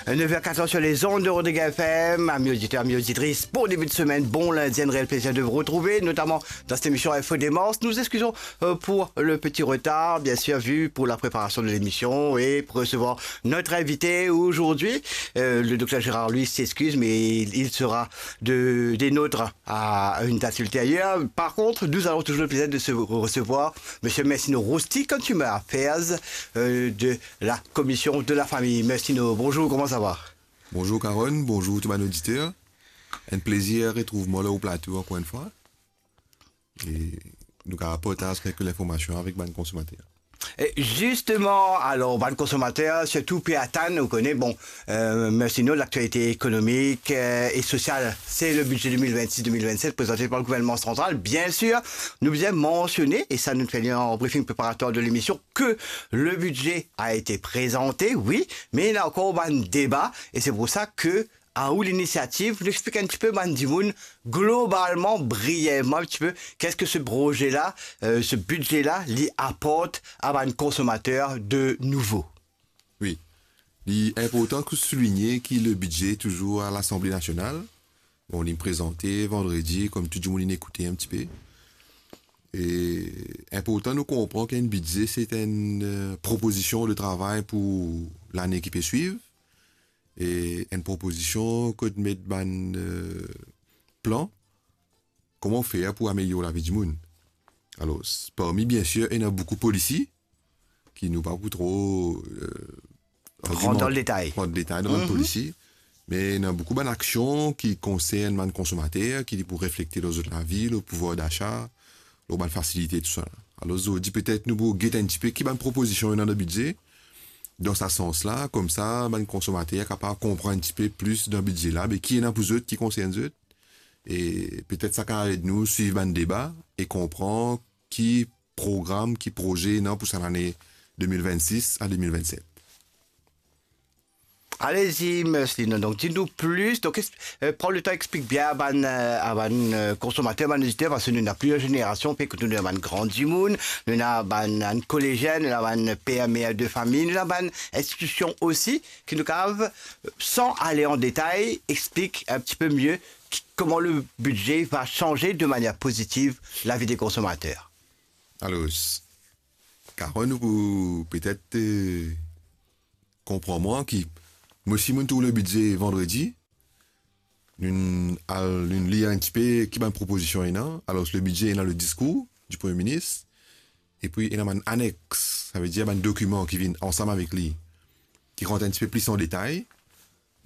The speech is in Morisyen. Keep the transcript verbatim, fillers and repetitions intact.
Neuf heures quatorze sur les ondes de Rodriguez F M. Amis auditeurs, amis auditrices, bon début de semaine, bon lundi, un réel plaisir de vous retrouver, notamment dans cette émission Info Démence. Nous excusons euh, pour le petit retard, bien sûr, vu pour la préparation de l'émission et pour recevoir notre invité aujourd'hui. Euh, le docteur Gérard, lui, s'excuse, mais il, il sera de, des nôtres à une date ultérieure. Par contre, nous avons toujours le plaisir de se recevoir Monsieur Messino Rousty, Consumer Affairs euh, de la Commission de la Famille. Messino, bonjour, comment ça va? Bonjour Carole, bonjour tout bann oditer. Enn plezir retrouv mwa lor ou plato ankor enn fwa. E nou kapav partaz kek linformasion avek bann konsomater. E zisteman, alor, bann konsomater, sirtou pe atann, ou kone, bon, euh, Messino, l'actualité économique euh, et sociale, c'est le budget deux mille vingt-six deux mille vingt-sept présenté par le gouvernement central. Bien sûr, nou bizin mansione, e sa nou fer li an briefing préparatoire de l'émission, que le budget a été présenté, oui, mais il y a encore un débat, et c'est pour ça que à ou l'initiative, nou explik un petit peu bann dimoun, globalement, brièvement un petit peu, qu'est-ce que ce projet-là, euh, ce budget-là, li aport a bann konsomater de nouvo? Wi. Li inportan pou souligne ki le bidze touzour a Lasanble Nasional. Bon, li prezante vandredi, kouma tou dimoun inn ekoute un petit peu. E inportan nou konpran ki enn bidze, se enn euh, propozision de travay pou lane ki pe swiv. E enn propozizion kot met bann euh, plan, kouma fer pou amelior lavi dimoun. Alor, parmi, bien sir, ena boukou polisi ki nou pa pou tro euh, Rant dan le detay. Rant detay dan bann polisi, me ena boukou bann aksion ki konsern bann konsomater, ki pou reflekte lor zot lavi, lor pouvwar dasa, lor bann fasilite, tousala. Alor, zordi, petet nou pou get enn tipe ki bann propozision ena dan bidze, dan sa sans la, koumsa bann konsomater kapav konpran enn tipe plis dan bidze la, be ki ena pou zot, ki konsern zot, e petet sa kapav ed nou swiv bann deba e konpran ki program, ki proze ena pou sa lane deux mille vingt-six à deux mille vingt-sept. Alezi, Messino. Donk, di nou plis. Donk, es- euh, pran le tan, explik bien a bann, euh, a bann euh, konsomater, bann oditer, parski nou ena plizier zenerasion, pe kot nou ena bann gran dimoun, nou ena bann, bann kolezien, nou ena bann per, mer de fami, nou ena bann institision osi, ki nou kapav, euh, san ale an detay, explik un petit peu mieux ki- comment le budget va changer de manière positive la vie des consommateurs. Alor, Carole, nou pou petet euh, konpran mwa ki mo si mo'nn trouv le bidze vandredi, nou'nn al, nou'nn lir enn tipe ki bann propozision ena. Alor, le bidze ena le diskour du Premier ministre, epi ena bann anex, savedir bann dokiman ki vinn ansam avek li, ki rant enn tipe plis an detay.